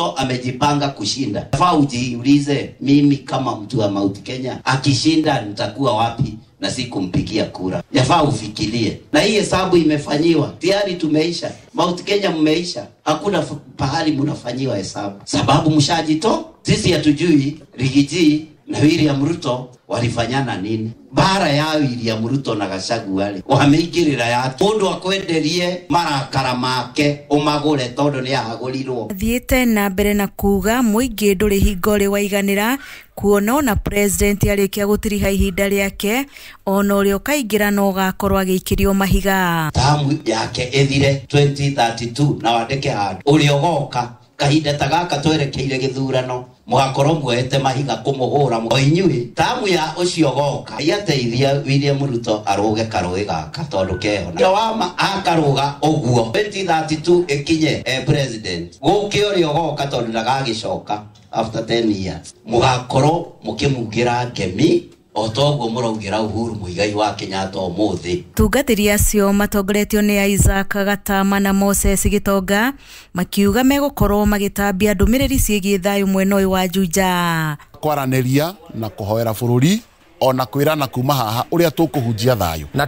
Amejipanga kushinda. Faa ujiulize, mimi kama mtu wa Mount Kenya akishinda nitakuwa wapi na sikumpigia kura? Yafaa ufikirie. Na hii hesabu imefanyiwa tayari, tumeisha. Mount Kenya mmeisha, hakuna pahali mnafanyiwa hesabu sababu mshajito. Sisi hatujui Rigiji na William Ruto walifanyana nini. Bara ya William Ruto na Gachagua wale wameingirira ya mundu akwenderie marakara make umagure tondu ni ahagurirwo. Thiete na mbere na kuga muingi nduri hingo ri waiganira kuona ona president arikia gutiriha ihinda riake ona uria ukaingira no gakorwo agiikirio mahiga. Tamu yake ithire 2032 na wandike handu uria ugoka kahinda ta gaka twerekeire githurano mugakorwo muoete mahiga kumuhura o inyui tamu ya ucio goka yateithia William Ruto aruge karui gaka tondu keho na wama akaruga uguo 2032 ikinye president guke uria ugoka tondu ndagagicoka after 10 years mugakorwo mukimugira ngemi o toguo muraugira Uhuru Muigai wa Kenyatta umuthi. Tungatĩri acio matongoretio nĩ Isaac Gatama na Moses Gitonga makiuga megũkorwo magĩtambia ndũmĩrĩri ciĩgiĩ thayũ mwena ũyũ wa Juja. Kwaranĩria na kũhoera bũrũri ona kwirana kuma haha uria tukuhunjia thayo. Na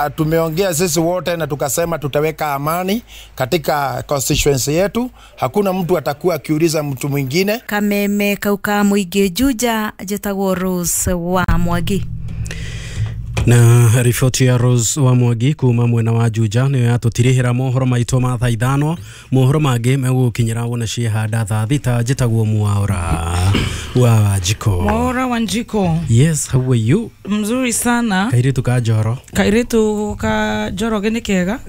tumeongea sisi wote na tukasema tutaweka amani katika constituency yetu, hakuna mtu atakuwa akiuliza mtu mwingine. Kameme kauka muingi Juja, jetagwo Rose wa Mwagi. Na riboti ya Rose wa Mwagi kuma mwena wa Juja niyo yatutirihira mohoro maitũ ma thaa ithano. Mohoro mangĩ megũkinyĩra wona ciehanda thaa thita. Njĩtagwo Mwaura wa Njiko. Mwaura wa Njiko. Yes, how are you? Mzuri sana. Kairitu ka Njoro. Kairitu ka Njoroge nĩ kega.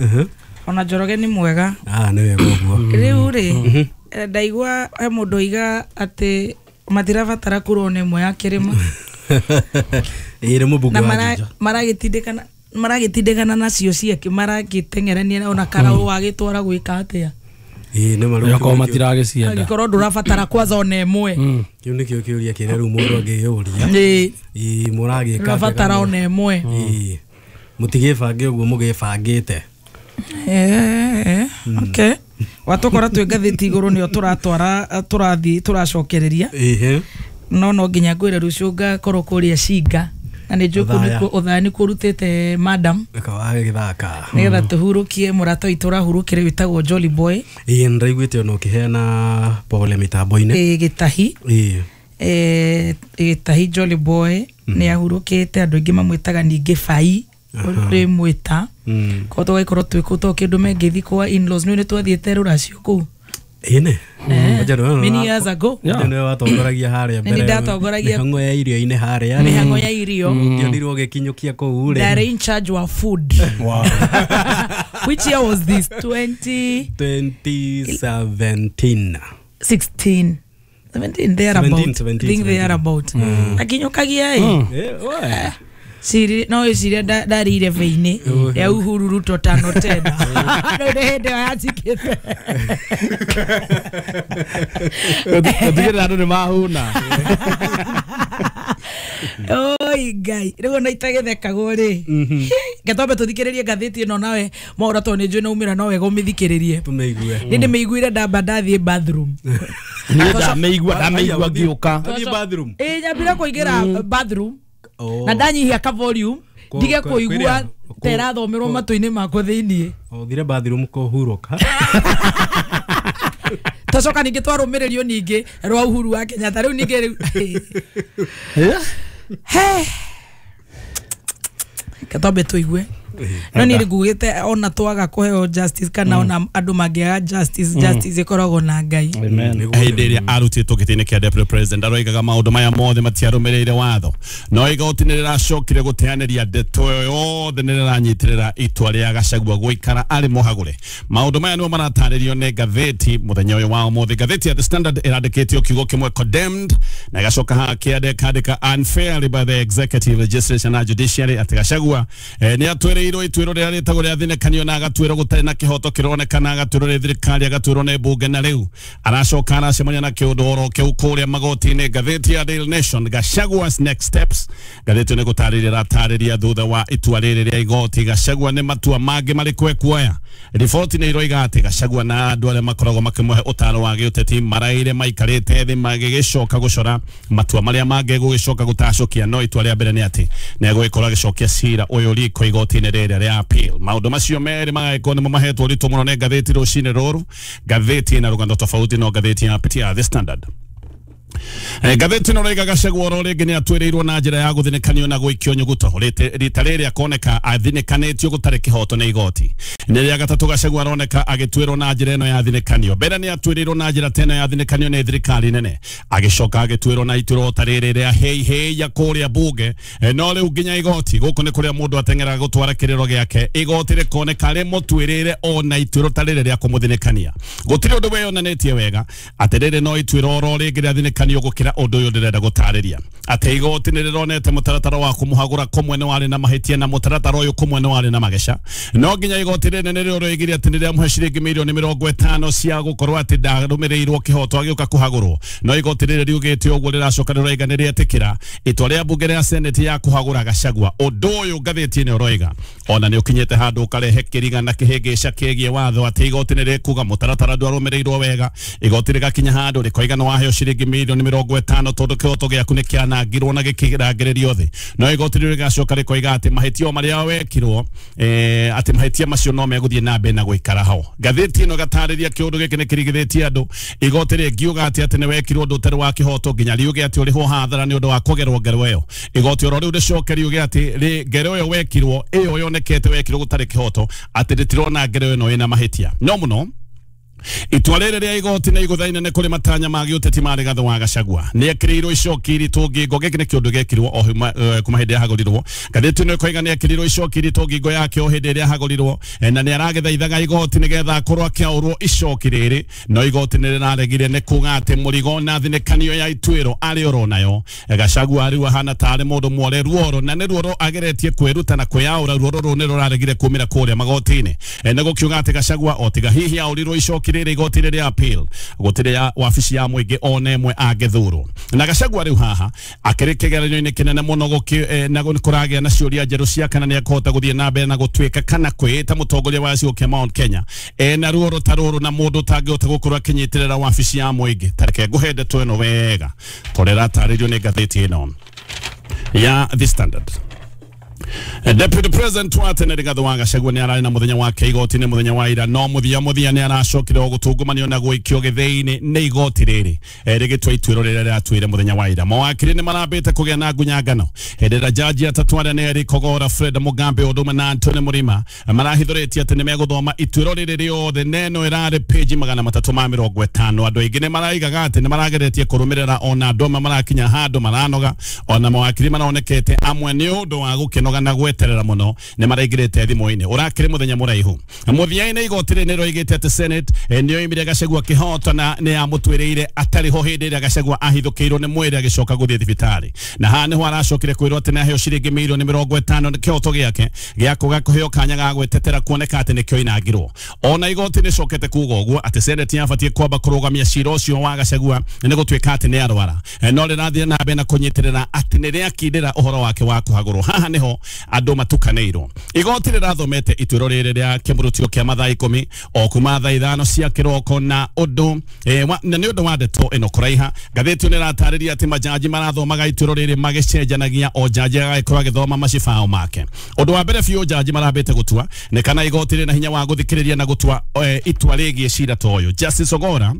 Ona Njoroge nĩ mwega. Ah, nĩ wega ũguo. Rĩu rĩ, ndaigua he mũndũ oiga atĩ matirabatara kura ona ĩmwe ya kĩrĩma. Ĩrĩ mũmbunge wa Juja. Maragĩtindĩkana nacio ciake, maragĩteng'erania ona karaũ wagĩtwara gwĩka atĩa. Ĩĩ nĩ marũa okorwo matiragĩcienda. Angĩkorwo ndũrabatara kwanza ona ĩmwe. Kĩu nĩkĩo kĩũria kĩrĩa rĩu mũndũ angĩyũria. Ĩĩ mũragĩka atĩa? Ndũrabatara ona ĩmwe. Ĩĩ mũtigĩbange ũguo mũgĩbangĩte. Okay. Watũkora twĩ ngathĩti igũrũ nĩyo tũratwara tũrathiĩ tũracokereria. No no nginya ngwĩre rũciũ ngakorwo kũrĩa Cinga na nĩ njũĩ kũu ũthaya nĩ kũrutĩte madam gĩthaka nĩgetha tũhurũkie mũrata witũ ũrahurũkire wĩtagwo Jolly Boy. Ĩĩ nĩndĩraiguĩte ona ũkĩheana pole mĩtambo-inĩ. Ĩĩ Gĩtahi. Ĩĩ Gĩtahi Jolly Boy nĩ ahurũkĩte, andũ aingĩ mamwĩtaga ningĩ Bai rĩmwĩta koguo tũgagĩkorwo twĩ kũu to kĩndũ mengĩthiĩ kwa in-laws nĩ twathiĩte rũracio kũu. Ĩne many years ago. Nĩwe watongoragia harĩa mbere. Nĩ ndatongoragia mĩhang'o ya irio-inĩ harĩa. Mĩhang'o ya irio. Ndionirwo ũgĩkinyũkia kũu rĩ. Ndarĩ in charge wa food. Wow. Which year was this? 2017. 16. 17 thereabout. Think thereabout. Akinyũkagia ĩ. Siri no iciria ndarĩire beinĩ ya Uhuru Ruto tano tena. No nĩ hĩndĩ ĩyo yacikĩte. Gũtigĩrĩra andũ nĩ mahũna. Oi Ngai, rĩu ona itagĩthekagwo rĩ. Reke twambe tũthikĩrĩrie ngathĩti ĩno nawe Mwaura tondũ nĩ njũĩ nĩ umĩra no wega ũmĩthikĩrĩrie. Tũmĩigue. Nĩ ndĩmĩiguire ndamba ndathiĩ bathroom. Niĩ ndamĩigua ngĩũka. Wathiĩ bathroom? Ĩĩ nyambire kũingĩra bathroom. Na ndanyihia ka volume ndige kũigua ta ĩrathomerwo matũ-inĩ makwa thĩiniĩ. Ũthire bathroom kũhurũka. Twacoka ningĩ twarũmĩrĩrio ningĩ rwa Uhuru wa Kenyatta rĩu ningĩ rĩu. Reke twambe tũigue. No niĩ ngugĩte ona twaga kũheo justice kana ona andũ mangĩaga justice, justice ĩkoragwo na Ngai. Hĩndĩ ĩrĩa arutĩtwo gĩtĩ-inĩ kĩa deputy president aroigaga maũndũ maya mothe matiarũmĩrĩire watho, no igoti nĩ rĩracokire gũteanĩria ndeto ĩyo yothe nĩ rĩranyitĩrĩra itua rĩa Gachagua gũikara arĩ mũhagũre. Maũndũ maya nĩmo maratarĩrio nĩ ngathĩti mũthenya ũyũ wa ũmũthĩ. Ngathĩti ya The Standard ĩrandĩkĩtio kiugo kĩmwe condemned, na ĩgacoka haha kĩandĩka unfairly by the executive, legislature na judiciary atĩ Gachagua nĩ atwĩrĩire atuĩrĩirwo ituĩro rĩrĩa rĩtagwo rĩa thinĩkanio na agatuĩrwo gũtarĩ na kĩhoto kĩronekana, agatuĩrwo nĩ thirikari, agatuĩrwo nĩ mbunge, na rĩu aracoka aracemania na kĩũndũ oro kĩu kũrĩa magoti-inĩ. Ngathĩti ya Daily Nation, Gachagua's next steps, ngathĩti ĩyo nĩ gũtarĩria ĩratarĩria thutha wa itua rĩrĩ rĩa igoti Gachagua nĩ matua mangĩ marĩkũ ekuoya. Riboti nĩ iroiga atĩ Gachagua na andũ arĩa makoragwo makĩmũhe ũtaro wa gĩũteti maraire maikarĩte thĩ magĩgĩcoka gũcora matua marĩa mangĩ gũgĩcoka gũtacũkia, no itua rĩa mbere nĩ atĩ nĩ egũgĩkorwo agĩcokia cira ũyũ riko igoti-inĩ rĩrĩa rĩa appeal. Maũndũ macio merĩ magagĩkorwo nĩmo mahetwo ũritũ mũno nĩ ngathĩti rũcinĩ rũrũ. Ngathĩti ĩna rũgano tofauti no ngathĩti ya The Standard. Ngathĩti ĩno raiga Gachagua oro rĩngĩ nĩ atuĩrĩirwo na njĩra ya gũthinĩkanio na gũikio nyuguto. Rita rĩrĩ akoneka athinĩkanĩtio gũtarĩ kĩhoto nĩ igoti. Nĩ rĩa gatatũ Gachagua aroneka agĩtuĩrwo na njĩra ĩno ya thinĩkanio. Mbere nĩ atuĩrĩirwo na njĩra ta ĩno ya thinĩkanio nĩ thirikari nene, agĩcoka agĩtuĩrwo na ituĩro ta rĩrĩ rĩa hei hei ya kũrĩa bunge. No rĩu nginya igoti gũkũ nĩ kũrĩa mũndũ ateng'eraga gũtwara kĩrĩro gĩake, igoti rĩkoneka rĩmũtuĩrĩire ona ituĩro ta rĩrĩ rĩa kũmũthinĩkania. Gũtirĩ ũndũ wĩyonanĩtie wega atĩ rĩrĩ no ituĩro oro rĩngĩ rĩa thinĩkanio gũkĩra ũndũ ũyũ ndĩrenda gũtarĩria, atĩ igoti nĩ rĩronete mũtaratara wa kũmũhagũra kũmwe nĩ warĩ na mahĩtia na mũtaratara ũyũ kũmwe nĩ warĩ na mageca. No nginya igoti rĩnene nĩrĩo rĩoigire atĩ nĩ rĩamũhe ciringi mirioni 50 cia gũkorwo atĩ ndarũmĩrĩirwo kĩhoto agĩũka kũhagũrwo. No igoti rĩrĩ riugĩte ũguo rĩracoka rĩroiga nĩ rĩetĩkĩra itua rĩa mbunge rĩa Senate ya kũhagũra Gachagua. Ũndũ ũyũ ngathĩti ĩno ĩroiga ona nĩ ũkinyĩte handũ ũkarehe kĩriga na kĩhĩngĩca kĩgiĩ watho atĩ igoti nĩ rĩkuga mũtaratara ndwarũmĩrĩirwo wega. Igoti rĩgakinya handũ rĩkoiga nĩ waheo ciringi mirioni 50 tondũ kĩhoto gĩaku nĩ kĩanangirwo na gĩkĩrangĩrĩrio thĩ. No igoti rĩu rĩgacoka rĩkoiga atĩ mahĩtia marĩa wekirwo, atĩ mahĩtia macio no megũthiĩ na mbere na gũikara ho. Ngathĩti ĩno ĩgatarĩria kĩũndũ gĩkĩ nĩ kĩrigithĩtie andũ. Igoti rĩngiuga atĩ atĩ nĩ wekirwo ũndũ ũtarĩ wa kĩhoto nginya riuge atĩ ũrĩhwo hathara nĩ ũndũ wa kũgerwo ngero ĩyo. Igoti oro rĩu rĩcoke riuge atĩ ngero ĩyo wekirwo ĩyo yonekete wekirwo gũtarĩ kĩhoto, atĩ rĩtirona ngero ĩno ĩna mahĩtia. No mũno itua rĩrĩ rĩa igoti nĩ igũtha inene kũrĩ matanya ma gĩũteti ma Rigathĩ wa Gachagua. Nĩ ekĩrĩirwo icoki iritũ ngingo. Gĩkĩ nĩ kĩũndũ gĩekirwo o kuma hĩndĩ yahagũrirwo. Ngathĩti ĩno ĩkoiga nĩ ekĩrĩirwo icoki iritũ ngingo yake o hĩndĩ ĩrĩa ahagũrirwo, na nĩ aragĩthaithaga igoti nĩgetha akorwo akĩaũrwo icoki rĩrĩ, no igoti nĩ rĩraregire nĩ kuga atĩ mũrigo na thinĩkanio ya ituĩro arĩ oro nayo. Gachagua rĩu ahana tarĩ mũndũ mwore ruoro, na nĩ ruoro ageretie kwĩruta na kwĩyaũra. Ruoro rũu nĩ rũraregire kumĩra kũrĩa magoti-inĩ. Nĩ gũkiuga atĩ Gachagua o tiga hihi aũrirwo icoki rĩrĩ igoti rĩrĩa appeal gũtirĩ ya wabici ya mũingĩ ona ĩmwe angĩthurwo. Na Gachagua rĩu haha akĩrĩ kĩgeranio-inĩ kĩnene mũno na kũragĩa na ciũria njerũ cia kana nĩ ekũhota gũthiĩ na mbere na gũtuĩka kana kwĩĩta mũtongoria wa gĩcigo kĩa Mount Kenya ena ruoro ta rũrũ na mũndũ ũtangĩhota gũkorwo akĩnyitĩrĩra wabici ya mũingĩ. Ta reke ngũhe ndeto ĩno wega tondũ ĩratarĩrio nĩ ngathĩti ĩno ya The Standard. Deputy President wa tene Rigathĩ wa Gachagua nĩ ararĩ na mũthenya wake igoti-inĩ mũthenya wa ira, no mũthia nĩ aracokire o gũtungumanio na gũikio gĩthĩi-inĩ nĩ igoti rĩrĩ rĩgĩtua ituĩro rĩrĩa rĩratuire mũthenya wa ira. Mawakiri nĩ marambĩte kũgĩa na ngunyangano hĩndĩ ĩrĩa jaji atatũ arĩa nĩ Eric Ogora, Fred Mugambe ũndũ ũmwe na Anthony Mũrima marahithũrĩtie atĩ nĩ megũthoma ituĩro rĩrĩ rĩothe neno ĩrarĩ page 350. Andũ aingĩ nĩ maraigaga atĩ nĩ marageretie kũrũmĩrĩra, ona andũ amwe marakinya handũ maranoga, ona mawakiri maronekete amwe nĩ ũndũ wa gũkĩnoga na gweterera mũno nĩ maraingĩrĩte thimũ-inĩ. Ũrakĩrĩ mũthenya mũraihu. Mũthia-inĩ igoti rĩrĩ nĩ rĩoigĩte atĩ Senate nĩ yoimire Gachagua kĩhoto na nĩ yamũtuĩrĩire atarĩ ho hĩndĩ ĩrĩa Gachagua ahithũkĩirwo nĩ mwĩrĩ agĩcoka gũthiĩ thibitarĩ. Na haha nĩho aracokire kwĩrwo atĩ nĩ aheo ciringi mirioni 50 nĩ kĩhoto gĩake gĩa kũga kũheo kanya ga gwĩtetera kuoneka atĩ nĩkĩo inangirwo. Ona igoti nĩ cokete kuga ũguo atĩ Senate yabatiĩ kwamba kũrũgamia cira ũcio wa Gachagua nĩ gũtuĩka atĩ nĩ arwara, no rĩrathiĩ na mbere na kũnyitĩrĩra atĩ nĩ rĩakindĩra ũhoro wake wa kũhagũrwo. Haha nĩho andũ matukanĩirwo. Igoti rĩrathomete ituĩro rĩrĩ rĩa kĩmũrutio kĩa mathaa 10 o kuma thaa 5 cia kĩroko, na ũndũ na nĩ ũndũ wa ndeto ĩno kũraiha. Ngathĩti ĩno ĩratarĩria atĩ majaji marathomaga ituĩro rĩrĩ magĩcenjanagia, o jaji agagĩkorwo agĩthoma macibao make. Ũndũ wa mbere biũ jaji marambĩte gũtua nĩ kana igoti rĩna hinya wa gũthikĩrĩria na gũtua itua rĩgiĩ cira ta ũyũ. Justice Ogora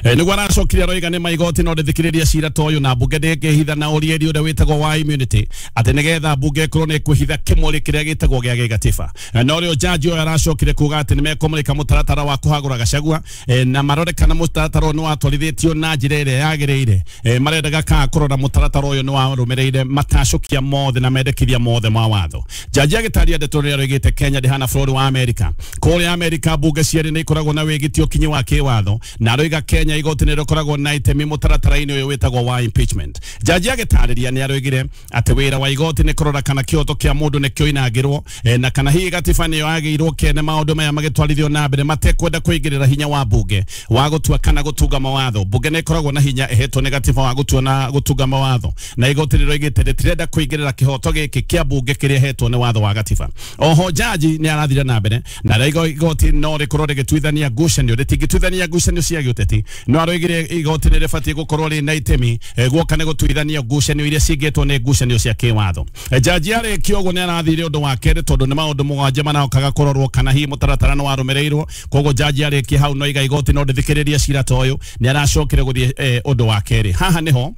nĩguo aracokire aroiga nĩ maigoti no rĩthikĩrĩria cira ta ũyũ na mbunge ndĩngĩhitha na ũrieri ũrĩa wĩtagwo wa immunity, atĩ nĩgetha mbunge ĩkorwo nĩ ĩkwĩhitha kĩmũrĩ kĩrĩa gĩtagwo gĩa gĩgatiba. No rĩo jaji ũyũ aracokire kuga atĩ nĩmekũmũrĩka mũtaratara wa kũhagũra Gachagua, na marore kana mũtaratara ũyũ nĩwatwarithĩtio na njĩra ĩrĩa yagĩrĩire. Marendaga kana kũrora mũtaratara ũyũ nĩwarũmĩrĩire matacũkia mothe na mendekithia mothe ma watho. Jaji agĩtaria ndeto rĩrĩa roigĩte Kenya ndĩhana bũrũri wa Amerika. Kũrĩa Amerika mbunge cierĩ nĩ ikoragwo na wĩgitio kinyi wa kĩwatho, na aroiga Kenya igoti nĩ rĩkoragwo na itemi mũtaratara-inĩ ũyũ wĩtagwo wa impeachment. Jaji agĩtarĩria nĩ aroigire atĩ wĩra wa igoti nĩ kũrora kana kĩhoto kĩa mũndũ nĩ kĩoinangĩrwo na kana hihi gatiba nĩyo yagĩirwo kene maũndũ maya magĩtwarithio na mbere matekwenda kũingĩrĩra hinya wa bunge wa gũtua kana gũtunga mawatho. Bunge nĩ ĩkoragwo na hinya ĩhetwo nĩ gatiba wa gũtua na gũtunga mawatho, na igoti rĩroigĩte rĩtirenda kũingĩrĩra kĩhoto gĩkĩ kĩa bunge kĩrĩa ĩhetwo nĩ watho wa gatiba. Oho jaji nĩ arathire na mbere na raigo igoti no rĩkorwo rĩgĩtuithania ngucanio, rĩtingĩtuithania ngucanio cia gĩũteti, no aroigire igoti nĩ rĩbatiĩ gũkorwo rĩ na itemi guoka nĩ gũtuithania ngucanio iria cingĩtwo nĩ ngucanio cia kĩwatho. Jaji arĩkia ũguo nĩ arathire ũndũ wa kerĩ tondũ nĩ maũndũ mũgwanja manaokaga kũrorwo kana hihi mũtaratara nĩ warũmĩrĩirwo. Koguo jaji arĩkia hau no iga igoti no ndĩthikĩrĩrie cira ta ũyũ, nĩ aracokire gũthiĩ ũndũ wa kerĩ. Haha nĩho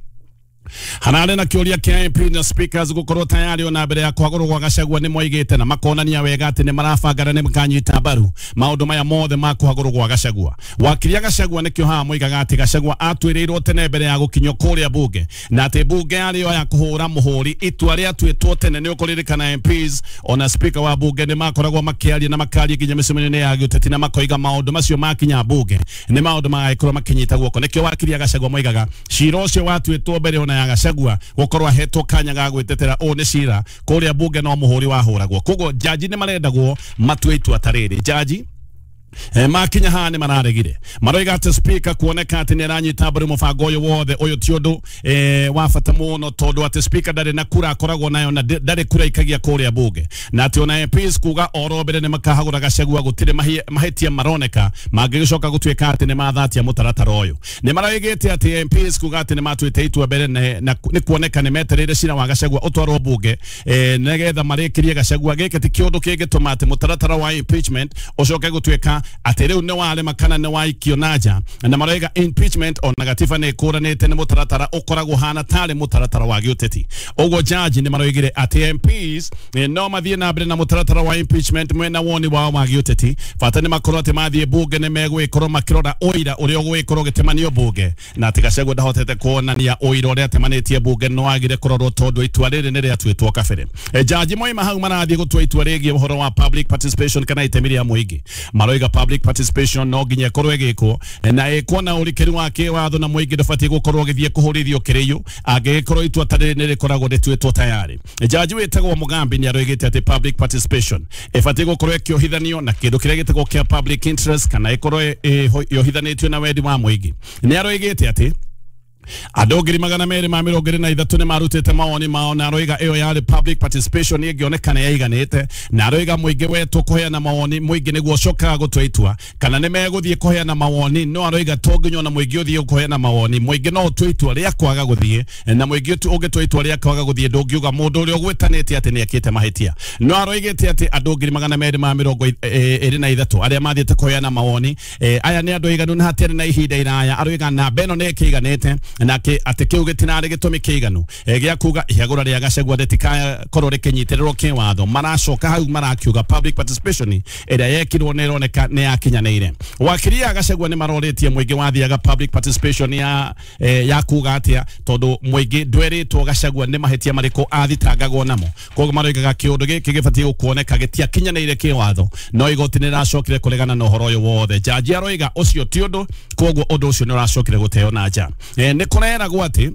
hararĩ na kĩũria kĩa MP na speakers gũkorwo tayari ona mbere ya kwagũrwo gwa Gachagua nĩ moigĩte na makonania wega atĩ nĩ marabanga na nĩ makanyita mbaru maũndũ maya mothe ma kwagũrwo gwa Gachagua. Wakiri ya Gachagua nĩkĩo haha moigaga atĩ Gachagua atuĩrĩirwo tene mbere ya gũkinyio kũrĩa bunge, na atĩ bunge yarĩ ya kũhũra mũhũri itua rĩatuĩtwo tene. Nĩ ũkũririkana MPs ona speaker wa bunge nĩ makoragwo makĩaria na makaria nginya mĩcemanio-inĩ ya gĩũteti na makoiga maũndũ macio makinya bunge nĩ maũndũ magagĩkorwo makĩnyita guoko. Nĩkĩo wakiri ya Gachagua moigaga cira ũcio watuĩtwo mbere ona ya Gachagua gukorwo ahetwo kanya ga gwitetera ũũ nĩ cira kũrĩa bunge no mũhũri wahũragwo. Koguo jaji nĩ marendagwo matue itua ta rĩrĩ. Jaji makinya haha nĩ mararegire, maroiga atĩ speaker kuoneka atĩ nĩ aranyita mbaru mũbango ũyũ wothe. Ũyũ ti ũndũ wa bata mũno tondũ atĩ speaker ndarĩ na kura akoragwo nayo na ndarĩ kura ikagia kũrĩa bunge, na atĩ ona MPs kuga oro mbere nĩ makahagũra Gachagua gũtirĩ mahĩtia maroneka mangĩgĩcoka gũtuĩka atĩ nĩ mathatia mũtaratara ũyũ. Nĩ maroigĩte atĩ MPs kuga atĩ nĩ matuĩte itua mbere na nĩ kuoneka nĩ metereire cira wa Gachagua ũtwarwo bunge nĩgetha marĩkĩrie Gachagua. Gĩkĩ ti kĩũndũ kĩngĩtũma atĩ mũtaratara wa impeachment ũcoke gũtuĩka atĩ rĩu nĩ warema kana nĩ waikio na nja, na maroiga impeachment ona gatiba nĩ ĩkũranĩte nĩ mũtaratara ũkoragwo hana tarĩ mũtaratara wa gĩũteti. Ũguo jaji nĩ maroigire atĩ MPs no mathiĩ na mbere na mũtaratara wa impeachment mwena woni wao wa gĩũteti, bata nĩ makorwo atĩ mathiĩ bunge nĩ megwĩkorwo makĩrora ũira ũrĩa ũgwĩkorwo ũgĩtemanio bunge, na atĩ Gachagua ndahotete kuonania ũira ũrĩa atemanĩtie bunge no agire kũrorwo tondũ itua rĩrĩ nĩ rĩatuĩtwo kabere. Jaji moima hau marathiĩ gũtua itua rĩgiĩ ũhoro wa public participation kana itemi rĩa mũingĩ. Maroiga public participation no nginya ĩkorwo ĩgĩkwo na ĩkwo na ũrikĩru wa kĩwatho na mũingĩ ndũbatiĩ gũkorwo ũgĩthiĩ kũhũrithio kĩrĩiũ angĩgĩkorwo itua ta rĩrĩ nĩ rĩkoragwo rĩtuĩtwo tayari. Jaji wĩtagwo Mugambi nĩ aroigĩte atĩ public participation ĩbatiĩ gũkorwo ĩkĩohithanio na kĩndũ kĩrĩa gĩtagwo kĩa public interest kana ĩkorwo yohithanĩtio na wendi wa mũingĩ. Nĩ aroigĩte atĩ andũ 223 nĩ marutĩte mawoni mao, na aroiga ĩyo yarĩ public participation ĩngĩonekana yaiganĩte, na aroiga mũingĩ wetwo kũheana mawoni mũingĩ nĩguo ũcokaga gũtua itua kana nĩ megũthiĩ kũheana mawoni. No aroiga to nginya ona mũingĩ ũthiĩ kũheana mawoni, mũingĩ no ũtue itua rĩa kwaga gũthiĩ, na mũingĩ ũngĩtua itua rĩa kwaga gũthiĩ ndũngiuga mũndũ ũrĩa ũgwĩtanĩte atĩ nĩ ekĩte mahĩtia. No aroigĩte atĩ andũ 223 arĩa mathiĩte kũheana mawoni aya nĩ andũ aiganu na hatiarĩ na ihinda iraya. Aroiga namba ĩno nĩ ĩkĩiganĩte na atĩ kĩu gĩtinarĩ gĩtũmi kĩiganu gĩa kuga ihagũra rĩa Gachagua rĩtikakorwo rĩkĩnyitĩrĩrwo kĩwatho. Maracoka hau marakiuga public participation ĩrĩa yekirwo nĩ ĩroneka nĩ yakinyanĩire. Wakiri ya Gachagua nĩ marorĩtie mũingĩ wathiaga public participation ya kuga atĩa tondũ mũingĩ ndwerĩtwo Gachagua nĩ mahĩtia marĩkũ athitangagwo namo. Koguo maroigaga kĩũndũ gĩkĩ gĩbatiĩ gũkuoneka gĩtiakinyanĩire kĩwatho, no igoti nĩ rĩracokire kũregana na ũhoro ũyũ wothe. Jaji aroiga ũcio ti ũndũ, koguo ũndũ ũcio nĩ ũracokire gũteo na nja. Nĩ kũreragwo atĩ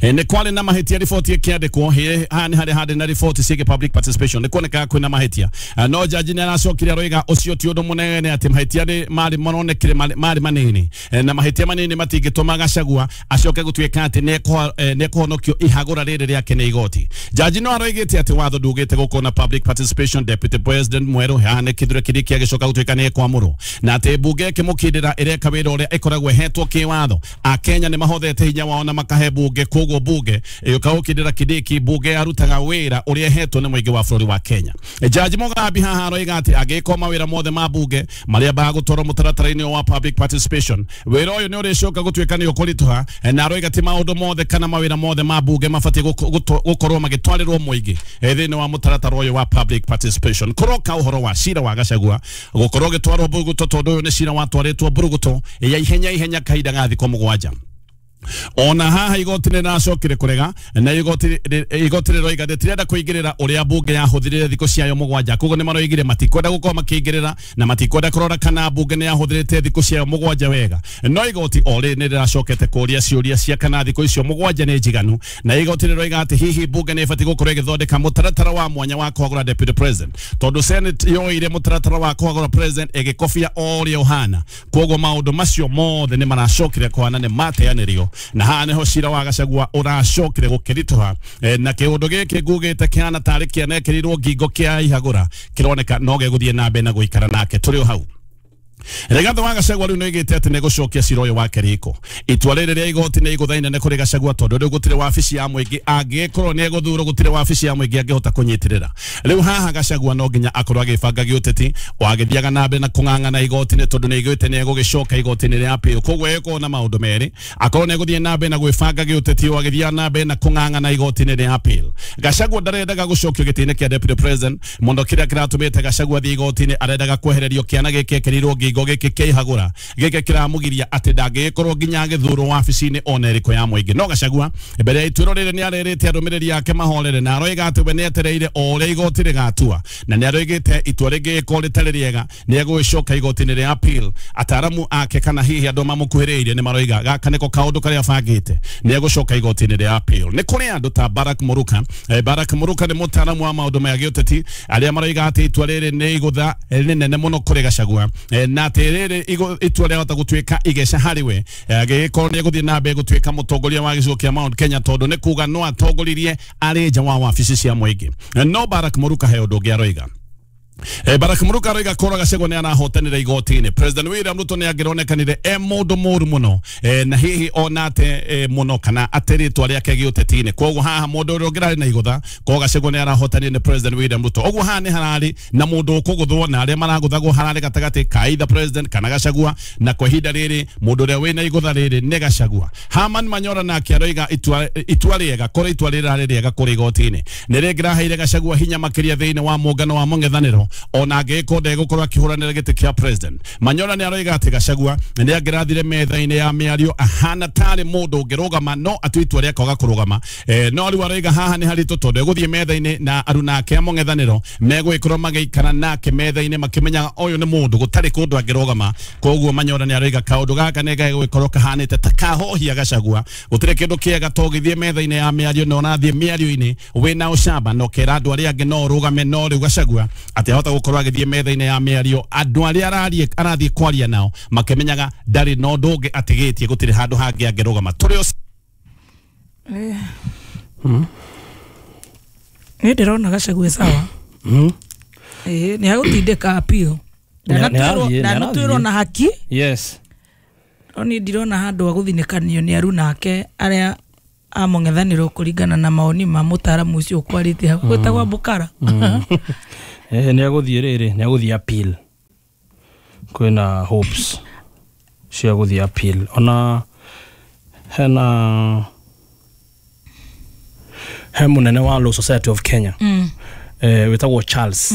nĩ kwarĩ na mahĩtia riboti ĩkĩandĩkwo haha nĩ harĩa harĩ na riboti ciĩgiĩ public participation nĩ kuonekaga kwĩna mahĩtia, no jaji nĩ aracokire aroiga ũcio ti ũndũ mũnene atĩ mahĩtia marĩ maronekire marĩ manini, na mahĩtia manini matingĩtũma Gachagua acoke gũtuĩka atĩ nĩ ekũhonokio ihagũra rĩrĩ rĩake nĩ igoti. Jaji no aroigĩte atĩ watho ndugĩte gũkorwo na public participation. Deputy President mwerũ haha nĩ Kithure Kindiki agĩcoka gũtuĩka nĩ ekwamũrwo, na atĩ mbunge ĩkĩmũkindĩra ĩreka wĩra ũrĩa ĩkoragwo ĩhetwo kĩwatho. Akenya nĩ mahothete hinya wao na makahe bunge, koguo bunge ĩũka gũkindĩra Kindiki, bunge yarutaga wĩra ũrĩa ĩhetwo nĩ mũingĩ wa bũrũri wa Kenya. Jaji Mugambi haha aroiga atĩ angĩkorwo mawĩra mothe ma bunge marĩa bagũtwarwo mũtaratara-inĩ wa public participation, wĩra ũyũ nĩ ũrĩcoka gũtuĩka nĩ ũkũritũha, na aroiga ti maũndũ mothe kana mawĩra mothe ma bunge mabatiĩ gũkorwo magĩtwarĩrwo mũingĩ thĩinĩ wa mũtaratara ũyũ wa public participation. Kũroka ũhoro wa cira wa Gachagua gũkorwo ũgĩtwarwo mbũrũgũtũ tondũ ũyũ nĩ cira watwarĩtwo mbũrũgũtũ ya ihenya ihenya kahinda ga thikũ 7. Ona haha igoti nĩ rĩracokire kũrega na igoti rĩroiga rĩtirenda kũingĩrĩra ũrĩa mbunge yahũthĩrire thikũ ciayo mũgwanja. Koguo nĩ maroigire matikwenda gũkorwo makĩingĩrĩra na matikwenda kũrora kana mbunge nĩ yahũthĩrĩte thikũ ciayo mũgwanja wega. No igoti o rĩ nĩ rĩracokete kũria ciũria cia kana thikũ icio mũgwanja nĩ njiganu, na igoti rĩroiga atĩ hihi mbunge nĩ ĩbatiĩ gũkorwo ĩgĩthondeka mũtaratara wa mwanya wa kũhagũra deputy president, tondũ Senate yoire mũtaratara wa kũhagũra president ĩgĩkobia o ũrĩa ũhana. Koguo maũndũ macio mothe nĩ maracokire kũhana nĩ mateanĩrio, na haha nĩho cira wa Gachagua ũracokire gũkĩritũha, na kĩũndũ gĩkĩ ngugĩte kĩhana tarĩ kĩanekĩrirwo ngingo kĩa ihagũra kĩroneka no gĩgũthiĩ na mbere na gũikara nake. Tũrĩ o hau. Rigathi wa Gachagua rĩu nĩoigĩte atĩ nĩegũcokia cira ũyũ wake riko. Itua rĩrĩ rĩa igoti nĩ igũtha inene kũrĩ Gachagua tondũ rĩu gũtirĩ wabici ya mũingĩ angĩkorwo nĩegũthurwo, gũtirĩ wabici ya mũingĩ angĩhota kũnyitĩrĩra. Rĩu haha Gachagua no nginya akorwo agĩbanga gĩũteti o agĩthiaga na mbere na kũng'ang'ana igoti-inĩ tondũ nĩaigĩte nĩegũgĩcoka igoti-inĩ rĩa appeal. Koguo egũkorwo na maũndũ merĩ, akorwo nĩegũthiĩ na mbere na gwĩbanga gĩũteti o agĩthiaga na mbere na kũng'ang'ana igoti-inĩ rĩa appeal. Gachagua ndarendaga gũcokio gĩtĩ-inĩ kĩa deputy president mũno. Kĩrĩa kĩratũmĩte Gachagua athiĩ igoti-inĩ arendaga kwehererio kĩana gĩkĩ ekĩrirwo ngingo gĩkĩ kĩa ihagũra gĩkĩ kĩramũgiria atĩ ndangĩgĩkorwo nginya agĩthurwo wabici-inĩ ona ĩrĩkũ ya mũingĩ. No Gachagua mbere ya ituĩro rĩrĩ nĩarerĩte arũmĩrĩri ake mahorere na aroiga atĩ we nĩetereire o ũrĩa igoti rĩgatua, na nĩaroigĩte itua rĩngĩgĩkorwo rĩtarĩ rĩega nĩegũgĩcoka igoti-inĩ rĩa appeal. Ataaramu ake kana hihi andũ mamũkuhĩrĩirie nĩ maroiga gaka nĩko kaũndũ karĩa abangĩte, nĩegũcoka igoti-inĩ rĩa appeal. Nĩ kũrĩ andũ ta Barack Muruka. Barack Muruka nĩ mũtaaramu wa maũndũ ma gĩũteti arĩa maroiga atĩ itua rĩrĩ nĩ igũtha rĩnene mũno kũrĩ Gachagua, na atĩ rĩrĩ itua rĩahota gũtuĩka igeca harĩ we agĩgĩkorwo nĩegũthiĩ na mbere gũtuĩka mũtongoria wa gĩcigo kĩa Mount Kenya tondũ nĩ kuga no atongoririe arĩ nja wa wabici cia mũingĩ. No Barack Muruka he ũndũ ũngĩ aroiga. Barack Muruka aroiga korwo Gachagua nĩ arahotanĩra igoti-inĩ, President William Ruto nĩ angĩronekanire e mũndũ mũru mũno, na hihi ona ate mũno kana ate rĩtwa rĩake gĩũteti-inĩ. Koguo haha mũndũ ũrĩa ũngĩrarĩ na igũtha korwo Gachagua nĩ arahotanire nĩ President William Ruto. Ũguo haha nĩ hararĩ na mũndũ ũkũgũthwo na arĩa maragũthagwo hararĩ gatagatĩ ka either president kana Gachagua, na kwa ihinda rĩrĩ mũndũ ũrĩa wĩna igũtha rĩrĩ nĩ Gachagua. Herman Manyora nake aroiga itua rĩega korwo itua rĩrĩ rarĩ rĩega kũrĩ igoti-inĩ nĩ rĩngĩraheire Gachagua hinya makĩria thĩinĩ wa mũngano wa mũng'ethanĩro ona angĩgĩkorwo ndegũkorwo akĩhũranĩra gĩtĩ kĩa president. Manyora nĩ aroiga atĩ Gachagua nĩ angĩrathire metha-inĩ ya mĩario ahana tarĩ mũndũ ũngĩrũgama no atue itua rĩa kwaga kũrũgama. No rĩu aroiga haha nĩ haritũ tondũ egũthiĩ metha-inĩ na aruna ake a mũng'ethanĩro megũgĩkorwo magĩikara nake metha-inĩ makĩmenyaga ũyũ nĩ mũndũ gũtarĩ kũndũ angĩrũgama. Koguo Manyora nĩ aroiga kaũndũ gaka nĩ gegũgĩkorwo kahanĩte ta kahohia Gachagua. Gũtirĩ kĩndũ kĩega to ũgĩthiĩ metha-inĩ ya mĩario na ũrathiĩ mĩario-inĩ wĩna ũcamba na ũkera andũ arĩa angĩ no ũrũgame, no rĩu Gachagua atĩ ahota gũkorwo agĩthiĩ metha-inĩ ya mĩario andũ arĩa arathiĩ kwaria nao makĩmenyaga ndarĩ na ũndũ ũngĩ atigĩtie, gũtirĩ handũ hangĩ angĩrũgama. Tũrĩ Niĩ ndĩrona Gachagua sawa. Nĩ agũtindĩka appeal. Ndanatwĩrwo na haki. Yes. No niĩ ndirona handũ ha gũthinĩkanio nĩ aruna ake arĩa a mũng'ethanĩro kũringana na maoni ma mũtaaramu ũcio ũkwarĩtie hau gwĩtagwo Bukara. Nĩ agũthiĩ rĩrĩ, nĩ agũthiĩ appeal. Kwĩna hopes cia gũthiĩ appeal. Ona hena he mũnene wa Law Society of Kenya wĩtagwo Charles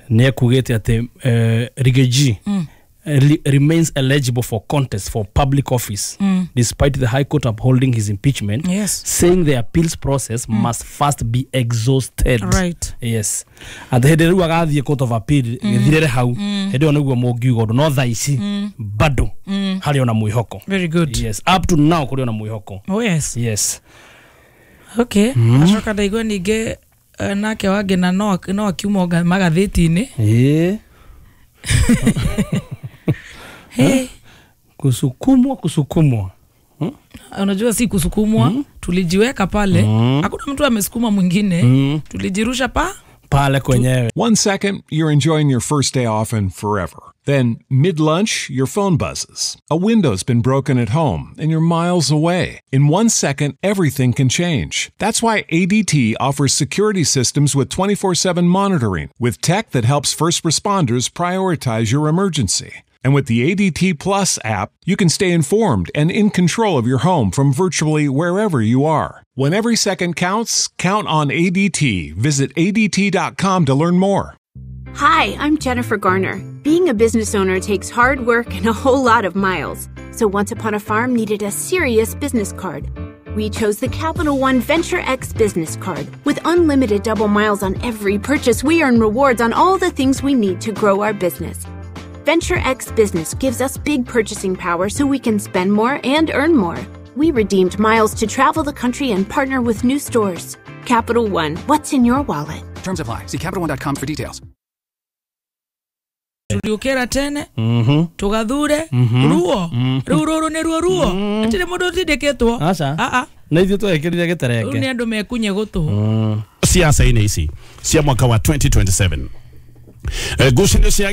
nĩ ekugĩte atĩ Riggy remains eligible for contest for public office despite the High Court upholding his impeachment, yes, saying the appeals process must first be exhausted. Right. Yes. At the rĩu agathiĩ court of appeal gĩthirĩre hau hĩndĩ ĩyo nĩguo mũngiuga ũndũ, no thaa ici bado harĩ ona mwĩhoko. Very good. Yes, up to now kũrĩ ona mwĩhoko. Oh yes. Yes. Okay. Acoka ndaigua ningĩ nake wangĩ na no akiuma magathĩti-inĩ. Ĩĩ. Hey. Kusukumwa. Unajua si kusukumwa, tulijiweka pale. Hakuna mtu amesukuma mwingine. Tulijirusha pale kwenyewe. 1 second, you're enjoying your first day off and forever. Then, mid-lunch, your phone buzzes. A window's been broken at home, and you're miles away. In 1 second, everything can change. That's why ADT offers security systems with 24/7 monitoring, with tech that helps first responders prioritize your emergency. And with the ADT Plus app, you can stay informed and in control of your home from virtually wherever you are. When every second counts, count on ADT. Visit ADT.com to learn more. Hi, I'm Jennifer Garner. Being a business owner takes hard work and a whole lot of miles. So Once Upon a Farm needed a serious business card. We chose the Capital One Venture X business card. With unlimited double miles on every purchase, we earn rewards on all the things we need to grow our business. Venture X Business gives us big purchasing power so we can spend more and earn more. We redeemed miles to travel the country and partner with new stores. Capital One, what's in your wallet? Terms apply. See CapitalOne.com for details. Turiukira tene tugathure ruo riu ruru ni ruo ruo atire mundu utindikitwo. Aca na ithuĩ twekĩrire gĩterenge riu ni andu mekunye gutu ciaca-inĩ ici cia mwaka wa 2027. Ngucanio cia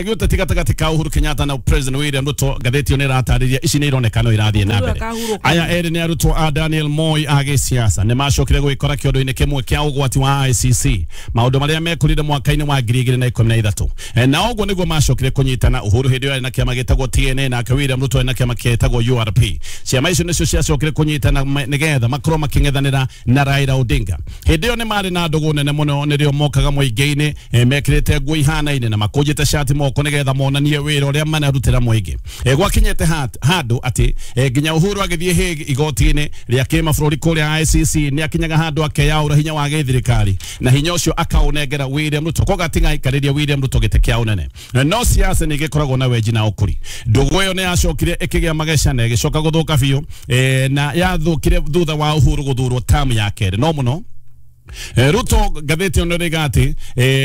gĩũteti gatagatĩ ka Uhuru Kenyatta na President William Ruto ngathĩti ĩyo nĩ ĩratarĩria ici nĩ ironeka no irathiĩ na mbere. Aya erĩ nĩ arutwo a Daniel Moi a gĩsiasa nĩ macokire gwĩkora kĩondo-inĩ kĩmwe kĩa ũgwati wa ICC maũndũ marĩa mekũrire mwaka-inĩ wa 2013 na ũguo nĩguo macokire kũnyitana. Uhuru hĩndĩ ĩyo arĩ na kĩama gĩtagwo TNA nake William Ruto arĩ na kĩama gĩtagwo URP. Ciama icio nĩcio ciacokire kũnyitana nĩgetha makorwo makĩng'ethanĩra na Raila Odinga. Hĩndĩ ĩyo nĩ marĩ na ndũgũ nene mũno nĩrĩo mokaga mũingĩ-inĩ mekĩrĩte nguo ihanaine na makũnjĩte cati moko nĩgetha monanie wĩra ũrĩa manarutĩra mũingĩ. Gwakinyĩte handũ atĩ nginya Uhuru agĩthiĩ Hague igoti-inĩ rĩa kĩmabũrũri kũrĩa ICC nĩ akinyaga handũ akeyaũra hinya wa gĩthirikari na hinya ũcio akaũnengera William Ruto koguo atigaikarĩria William Ruto gĩtĩ kĩa ũnene. No siasa nĩ igĩkoragwo na wenji na ũkũri. Ndũgũ ĩyo nĩ yacokire ĩkĩgĩa mageca na ĩgĩcoka gũthũka biũ na yathũkire thutha wa Uhuru gũthurwo tamu ya kerĩ. No mũno Ruto ngathĩti ĩno nĩrĩga atĩ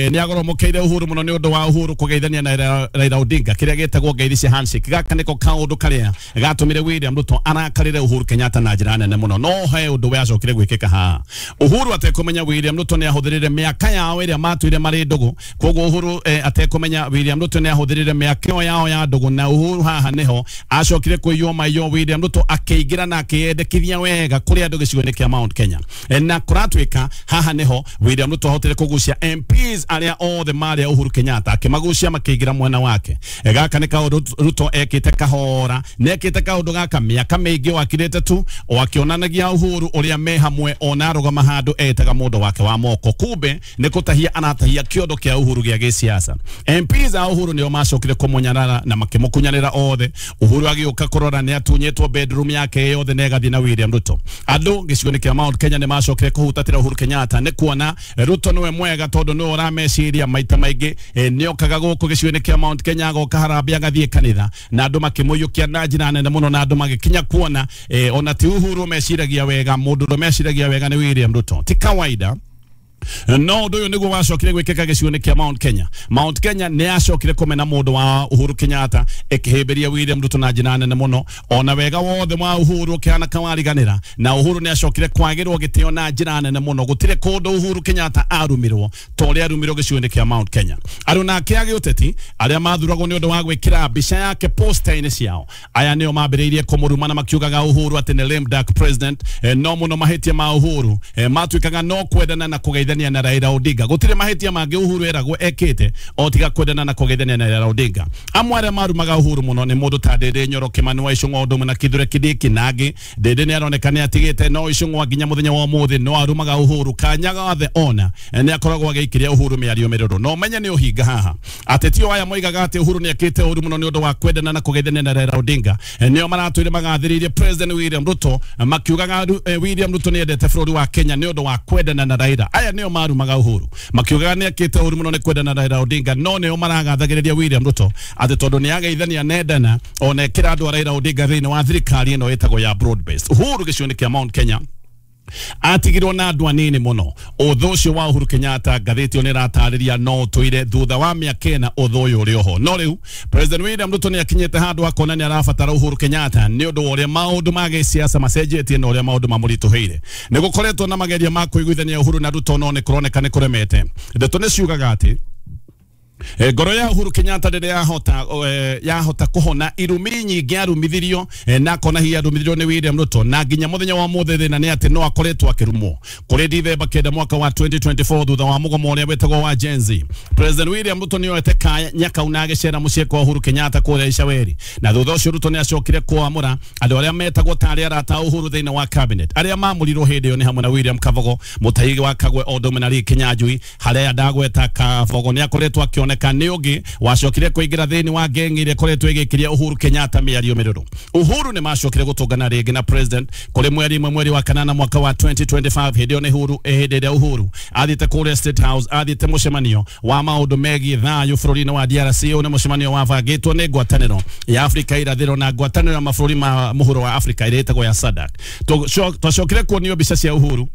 nĩ agoromokeire Uhuru mũno nĩ ũndũ wa Uhuru kũgeithania na Raila Odinga kĩrĩa gĩtagwo ngeithi cia handshake. Gaka nĩko kaũndũ karĩa gatũmire William Ruto arakarĩre Uhuru Kenyatta na njĩra nene mũno. No he ũndũ wacokire gwĩkĩka haha Uhuru atekũmenya William Ruto nĩ ahũthĩrire mĩaka yao ĩrĩa matũire marĩ ndũgũ. Koguo Uhuru atekũmenya William Ruto nĩ ahũthĩrire mĩaka ĩyo yao ya ndũgũ na Uhuru haha nĩho acokire kũiywo maiyo William Ruto akĩingĩra na akĩyendekithia wega kũrĩ andũ gĩcigo-inĩ kĩa Mount Kenya na kũratuĩka haha niho William Ruto ahotire kugucia MPs aria othe marĩ a Uhuru Kenyatta akimagucia makĩingĩra mwena wake. Gaka nĩ kaũndũ Ruto ekĩte kahora nĩ ekĩte kaũndũ gaka mĩaka mĩingĩ wakirĩte tu o akĩonanagia Uhuru ũrĩa me hamwe ona arũgama handũ etaga mũndũ wake wa moko kumbe nĩ kũtahia anatahia kĩondo kĩa Uhuru gĩa gĩsiasa. MPs a Uhuru nĩo macokire kũmũnyarara na makĩmũkunyanĩra othe. Uhuru agĩũka kũrora nĩ atunyĩtwo bedroom yake yothe na ĩgathiĩ na William Ruto. Andũ gĩcigo-inĩ kĩa Mount Kenya nĩ macokire kũhutatĩra Uhuru Kenyatta nĩ kuona Ruto niwe mwega tondũ nĩwe ũrameciria maita maingĩ nĩokaga gũkũ gĩcigo-inĩ kĩa Mount Kenya agoka harambee agathiĩ kanitha na andũ makĩmũiyũkia na njĩra nene mũno na andũ magĩkinya kuona ona ti Uhuru meciragia wega mũndũ ũrĩa meciragia wega nĩ William Ruto. Ti kawaida no ũndũ ũyũ nĩguo wacokire gwĩkĩka gĩcigo-inĩ kĩa Mount Kenya. Mount Kenya nĩ yacokire kũmena mũndũ wa Uhuru Kenyatta ĩkĩhĩmbĩria William Ruto na njĩra nene mũno ona wega wothe wa Uhuru ũkĩhana kawariganĩra na Uhuru nĩ acokire kwagĩrwo gĩtĩo na njĩra nene mũno. Gũtirĩ kũndũ Uhuru Kenyatta arumirwo ta ũrĩa arumirwo gĩcigo-inĩ kĩa Mount Kenya. Aruna ake a gĩũteti arĩa mathuragwo nĩ ũndũ wa gwĩkĩra mbica yake poster-inĩ ciao aya nĩo mambĩrĩirie kũmũruma na makiugaga Uhuru atĩ nĩ lame duck president. No mũno mahĩtia ma Uhuru matuĩkaga no kwendana na kũgeithania na Raila Odinga. Gũtirĩ mahĩtia mangĩ Uhuru eragwo ekĩte o tiga kwendana na kũgeithania na Raila Odinga. Amwe arĩa marumaga Uhuru mũno nĩ mũndũ ta Ndĩndĩ Nyoro, Kĩmani wa Icũng'wa, ũndũ ũmwe na Kithure Kindiki na angĩ. Ndĩndĩ nĩ aroneka nĩ atigĩte no Icũng'wa nginya mũthenya wa ũmũthĩ no arumaga Uhuru kanya gothe ona nĩ akoragwo agĩikĩria Uhuru mĩario mĩrũrũ. No menye nĩ ũhinga haha ateti aya moigaga atĩ Uhuru nĩ ekĩte ũru mũno nĩ ũndũ wa kwendana na kũgeithania na Raila Odinga nĩo maratũire magathĩrĩirie President William Ruto makiugaga William Ruto nĩ endete bũrũri wa Kenya nĩ ũndũ wa kwendana na Raila. Aya nĩo marumaga Uhuru makiugaga nĩ ekĩte ũru mũno nĩ kwendana na Raila Odinga no nĩo maragathagĩrĩria William Ruto atĩ tondũ nĩ ageithania nendana ona ekĩra andũ a Raila Odinga thĩinĩ wa thirikari ĩno ĩtagwo ya broad based. Uhuru gĩcigo-inĩ kĩa Mount Kenya atigirwo na andũ anini mũno. Ũthũ ũcio wa Uhuru Kenyatta ngathĩti ĩyo nĩ ĩratarĩria no ũtũire thutha wa mĩaka ĩna ũthũ ũyũ ũrĩ oho. No rĩu President William Ruto nĩ akinyĩte handũ akona nĩ arabatara Uhuru Kenyatta nĩ ũndũ wa ũrĩa maũndũ ma gĩsiasa macenjetie na ũrĩa maũndũ mamũritũhĩire. Nĩ gũkoretwo na mageria ma kũiguithania Uhuru na Ruto no nĩ kũroneka nĩ kũremete. Ndeto nĩ ciugaga atĩ Ngoro ya Uhuru Kenyatta rĩrĩa yahota kũhona irumi nyingĩ arumithirio, na akona hihi arumithirio nĩ William Ruto, na nginya mũthenya wa mũthĩ thĩna nĩ atĩ no akoretwo akĩrumwo. Kũrĩ Dithemba 9 mwaka wa 2024, thutha wa mũgomo ũrĩa wĩtagwo wa Gen Z, President William Ruto nĩ oete kanya kau na agĩcera mũciĩ kwa Uhuru Kenyatta kũrĩa Icaweri, na thutha ũcio Ruto nĩ acokire kwamũra andũ arĩa metagwo tarĩ arata a Uhuru thĩinĩ wa cabinet. Arĩa mamũrirwo hĩndĩ ĩyo nĩ hamwe na William Kabogo, Mutahi wa Kagwe, o ũndũ ũmwe na Lee Kinyanjui. Harĩa ndagweta Kabogo nĩ akoretwo akĩoneka nĩ ũngĩ wacokire kũingĩra thĩinĩ wa ngengi ĩrĩa ĩkoretwo ĩgĩkĩria Uhuru Kenyatta mĩario mĩrũrũ. Uhuru nĩ macokire gũtũngana rĩngĩ na president kũrĩ mweri 1 mweri wa 8 mwaka wa 2025. Hĩndĩ ĩyo nĩ Uhuru, hĩndĩ ĩrĩa Uhuru athiĩte kũrĩa State House, athiĩte mũcemanio wa maũndũ megiĩ thayũ bũrũri-inĩ wa DRC. Ũyũ nĩ mũcemanio wabangĩtwo nĩ ngwatanĩro ya Afrika irathĩro na ngwatanĩro ya mabũrũri ma mũhuro wa Afrika ĩrĩa ĩtagwo ya SADC. Twacokire kuonio mbica cia Uhuru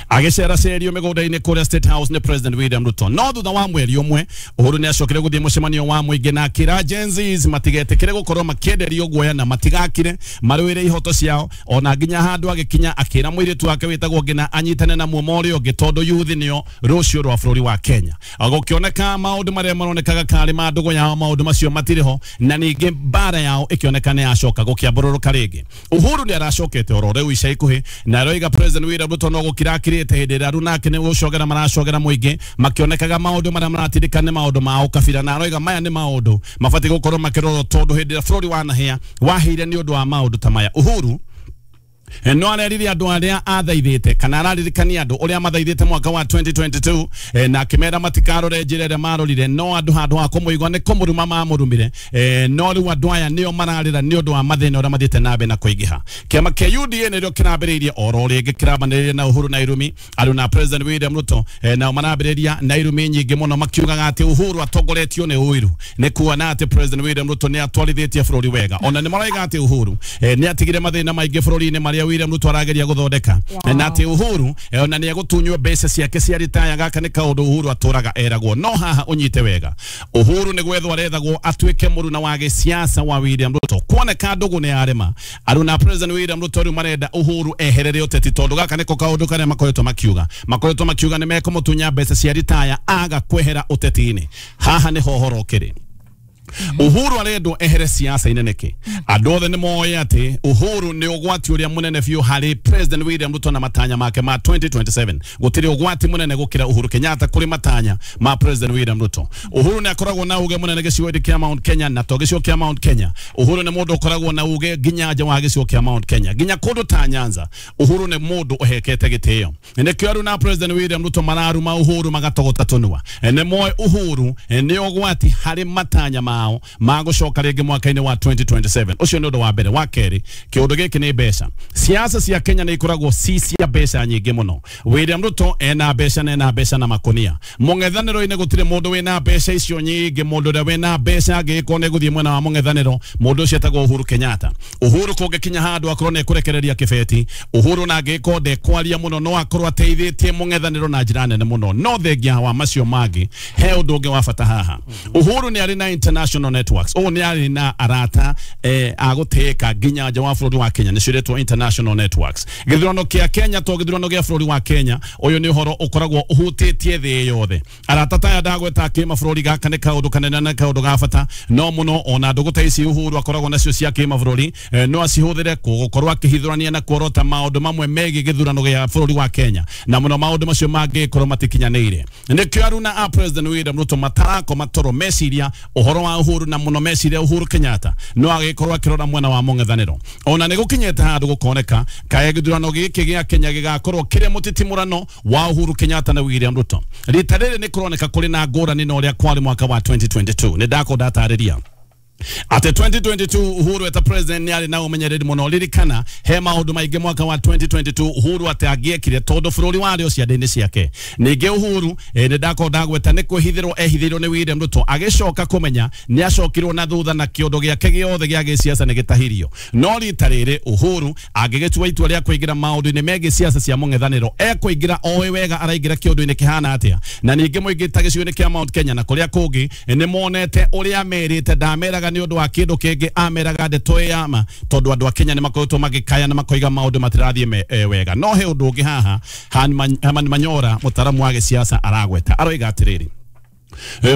agĩceracerio mĩgũnda-inĩ kũrĩa State House nĩ President William Ruto. No thutha wa mweri ũmwe Uhuru nĩ acokire gũthiĩ mũcemanio wa mũingĩ na akĩra Gen Zs matigetĩkĩre gũkorwo makĩenderio guoya na matigakire marũĩre ihoto ciao, ona nginya handũ agĩkinya akĩra mũirĩtu wake wĩtagwo Ngina anyitane na muomo ũrĩa ũngĩ tondũ youth nĩo rũciũ rwa bũrũri wa Kenya. Gũkĩoneka maũndũ marĩa maronekaga karĩ ma ndũgũ yao, maũndũ macio matirĩ ho, na ningĩ mbara yao ĩkĩoneka nĩ yacoka gũkĩambũrũrũka rĩngĩ. Uhuru nĩ aracokete oro rĩu ica ikuhĩ, na aroiga President William Ruto no gũkira akirĩte hĩndĩ ĩrĩa aruna nake nĩ gũcogera maracogera mũingĩ, makĩonekaga maũndũ marĩa maratindĩka nĩ maũndũ ma ũkabira, na aroiga maya nĩ maũndũ mabatiĩ gũkorwo makĩrorwo tondũ hĩndĩ ĩrĩa bũrũri wanahĩa wahĩire nĩ ũndũ wa maũndũ ta maya. Uhuru no arerire andũ arĩa athaithĩte kana araririkania andũ ũrĩa mathaithĩte mwaka wa 2022, na akĩmera matikarore njĩra ĩrĩa marorire, no andũ handũ ha kũmũigua nĩ kũmũruma mamũrumire. No rĩu andũ aya nĩo mararĩra nĩ ũndũ wa mathĩna ũrĩa mathiĩte na mbere na kũingĩha. Kĩama kĩa UDA nĩrĩo kĩrambĩrĩirie oro rĩngĩ kĩrambanĩrĩria na Uhuru na irumi andũ na President William Ruto, nao marambĩrĩria na irumi nyingĩ mũno makiugaga atĩ Uhuru atongoretio nĩ ũiru, nĩ kuona atĩ President William Ruto nĩ atwarithĩtie bũrũri wega. Ona nĩ maroiga atĩ Uhuru nĩ atigire mathĩna maingĩ bũrũri-inĩ marĩa William Ruto arageria gũthondeka, na atĩ Uhuru ona nĩ egũtunywo mbeca ciake cia ritaya. Gaka nĩ kaũndũ Uhuru atũraga eragwo. No haha ũnyite wega, Uhuru nĩ gwethwo arethagwo atuĩke mũruna wa gĩsiasa wa William Ruto. Kuoneka ndũgũ nĩ yarema, aruna President William Ruto rĩu marenda Uhuru eherere ũteti, tondũ gaka nĩko kaũndũ karĩa makoretwo makiuga nĩ mekũmũtunya mbeca cia ritaya aga kwehera ũteti-inĩ. Haha nĩho ũhoro ũkĩrĩ. Uhuru arendwo ehere siasa-inĩ nĩkĩ? Andũ othe nĩ moĩ atĩ Uhuru nĩ ũgwati ũrĩa mũnene biũ harĩ President William Ruto na matanya make ma 2027. Gũtirĩ ũgwati mũnene gũkĩra Uhuru Kenyatta kũrĩ matanya ma President William Ruto. Uhuru nĩ akoragwo na uge mũnene gĩcigo-inĩ kĩa Mount Kenya, na to gĩcigo kĩa Mount Kenya. Uhuru nĩ mũndũ ũkoragwo na uge nginya nja wa gĩcigo kĩa Mount Kenya, nginya kũndũ ta Nyanza. Uhuru nĩ mũndũ ũhekete gĩtĩo. Nĩkĩo aruna President William Ruto mararuma Uhuru magatogota tũnua. Nĩ moĩ Uhuru nĩ ũgwati harĩ matanya mao magũcoka rĩngĩ mwaka-inĩ wa 2027. Ũcio nĩ ũndũ wa mbere. Wa kerĩ, kĩũndũ gĩkĩ nĩ mbeca. Siasa cia Kenya nĩ ikoragwo ci cia mbeca nyingĩ mũno. William Ruto ena mbeca na ena mbeca na makonia. Mũng'ethanĩro-inĩ gũtirĩ mũndũ wĩna mbeca icio nyingĩ. Mũndũ ũrĩa wĩna mbeca angĩgĩkorwo nĩ gũthiĩ mwena wa mũng'ethanĩro, mũndũ ũcio etagwo Uhuru Kenyatta. Uhuru kũngĩkinya handũ akorwo nĩ ekũrekereria kĩbeti, Uhuru na angĩgĩkorwo ndekwaria mũno no akorwo ateithĩtie mũng'ethanĩro na njĩra nene mũno. No thengia wa macio mangĩ, he ũndũ ũngĩ wa bata haha. Uhuru nĩ arĩ na international networks. Ũũ nĩ arĩ na arata a gũtĩĩka nginya nja wa bũrũri wa Kenya, nĩcio iretwo international networks. Gĩthurano kĩa Kenya to gĩthurano gĩa bũrũri wa Kenya, ũyũ nĩ ũhoro ũkoragwo ũhutĩtie thĩ yothe. Arata ta aya ndagweta kĩmabũrũri, gaka nĩ kaũndũ kanene na kaũndũ ga bata no mũno. Ona ndũgũ ta ici Uhuru akoragwo nacio cia kĩmabũrũri, no acihũthĩre gũkorwo akĩhithũrania na kuorota maũndũ mamwe megiĩ gĩthurano gĩa bũrũri wa Kenya, na mũno maũndũ macio mangĩkorwo matikinyanĩire. Nĩkĩo aruna a President William Ruto matarakoma toro meciria ũhoro wa Uhuru, na mũno meciria Uhuru Kenyatta no agĩkorwo akĩrora mwena wa mũng'ethanĩro. Ona nĩ gũkinyĩte handũ gũkoneka kaĩ gĩthurano gĩkĩ gĩa Kenya gĩgakorwo kĩrĩ mũtitimũrano wa Uhuru Kenyatta na William Ruto. Rita rĩrĩ nĩ kũroneka kũrĩ na ngũrani na ũrĩa kwarĩ mwaka wa 2022. Nĩ ndakwo ndatarĩria atĩ 2022 Uhuru eta president nĩ arĩ na ũmenyereri mũno. Ririkana he maũndũ maingĩ mwaka wa 2022 Uhuru atĩ angĩekire tondũ bũrũri warĩ o ciande-inĩ ciake. Ningĩ Uhuru nĩ ndakorwo ndagweta nĩ kwĩhithĩrwo ehithĩirwo nĩ William Ruto, agĩcoka kũmenya nĩ acokirwo na thutha na kĩũndũ gĩake gĩothe gĩa gĩsiasa nĩ gĩtahirio. No rita rĩrĩ Uhuru angĩgĩtua itua rĩa kũingĩra maũndũ-inĩ megiĩ siasa cia mũng'ethanĩro, ekũingĩra oĩ wega araingĩra kĩũndũ-inĩ kĩhana atĩa. Na ningĩ mũingĩ ta gĩcigo-inĩ kĩa Mount Kenya na kũrĩa kũngĩ nĩ monete ũrĩa merĩte, ndameraga nĩ ũndũ wa kĩndũ kĩngĩ, ameraga ndeto ĩ ya ma, tondũ andũ a Kenya nĩ makoretwo magĩkaya na makoiga maũndũ matirathiĩ wega. No he ũndũ ũngĩ haha Herman Manyora mũtaaramu wa gĩsiasa aragweta, aroiga atĩrĩrĩ,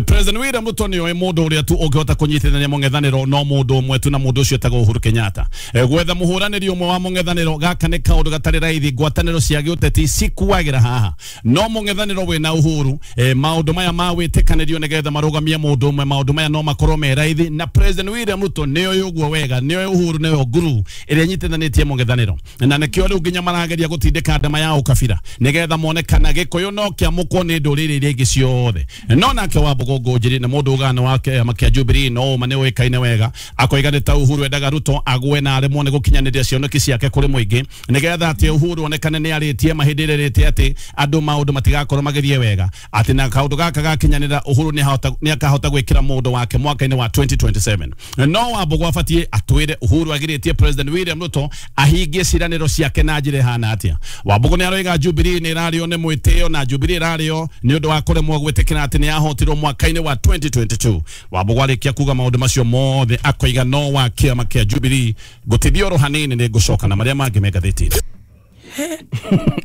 President William Ruto nĩoĩ mũndũ ũrĩa tu ũngĩhota kũnyitithania mũng'ethanĩro no mũndũ ũmwe tu na mũndũ ũcio etagwo Uhuru Kenyatta. Gwetha mũhũranĩri ũmwe wa mũng'ethanĩro gaka nĩ kaũndũ gatarĩ raithi, ngwatanĩro cia gĩũteti cikuagĩra haha no mũng'ethanĩro wĩna Uhuru maũndũ maya ma wĩtĩkanĩrio nĩgetha marũgamie mũndũ ũmwe, maũndũ maya no makorwo me raithi na President William Ruto nĩoĩ ũguo wega, nĩoĩ Uhuru nĩyo nguru ĩrĩa ĩnyitithanĩtie mũng'ethanĩro na nĩkĩo rĩu nginya marageria gũtindĩka ndama ya ũkabira nĩgetha mone kana Gĩkũyũ no kĩamũkwo nĩ ndũrĩrĩ iria ingĩ ciothe. No nake Wambugu Ngũnjiri nĩ mũndũ ũgana wa kĩama kĩa Jubilee no ũma nĩ ũĩkaine wega, akoiga nĩ ta Uhuru endaga Ruto agwe na aremwo nĩ gũkinyanĩria cioneki ciake kũrĩ mũingĩ nĩgetha atĩ Uhuru onekane nĩ arĩtie mahĩndĩ ĩrĩa ĩrĩte atĩ andũ maũndũ matigakorwo magĩthiĩ wega, atĩ na kaũndũ gaka gakinyanĩra Uhuru nĩ akahota gwĩkĩra mũndũ wake mwaka-inĩ wa 2027. No Wambugu abatiĩ atwĩre Uhuru agirĩtie President William Ruto ahingie ciĩranĩro ciake na njĩra ĩhana atĩa. Wambugu nĩ aroiga Jubilee nĩ ĩrarĩo nĩ mwĩtĩo na Jubilee ĩrarĩo nĩ ũndũ wa kũremwo gwĩtĩkĩra atĩ nĩ yahotirwo mwaka-inĩ wa 2022. Wambugu arĩkia kuga maũndũ macio mothe akoiga no wa kĩama kĩa Jubilee ngũtithia oro hanini nĩ ngũcoka na marĩa mangĩ me ngathĩti-inĩ.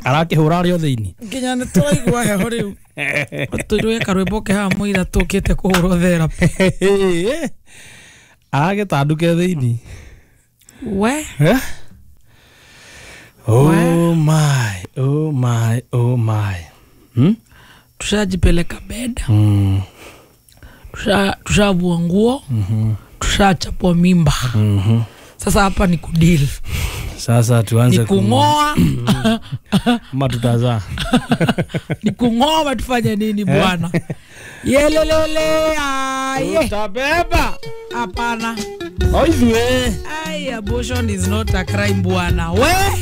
Arakĩhũra arĩ o thĩinĩ nginya nĩ tũraigua heho rĩu tũirwe karwĩmbo ke haha mũira tũkĩte kũhũrwo therapy aragĩtanduke thĩinĩ we. Oh my, oh my, oh my. Tushajipeleka bed. Tushavua nguo. Tushachapwa mimba. Sasa hapa ni kudeal. Sasa tuanze ni kung'oa ama tutazaa. Ni kung'oa tufanye nini bwana? Yelelele aye. Utabeba. Hapana. Oizwe. Ai, abortion is not a crime bwana. We.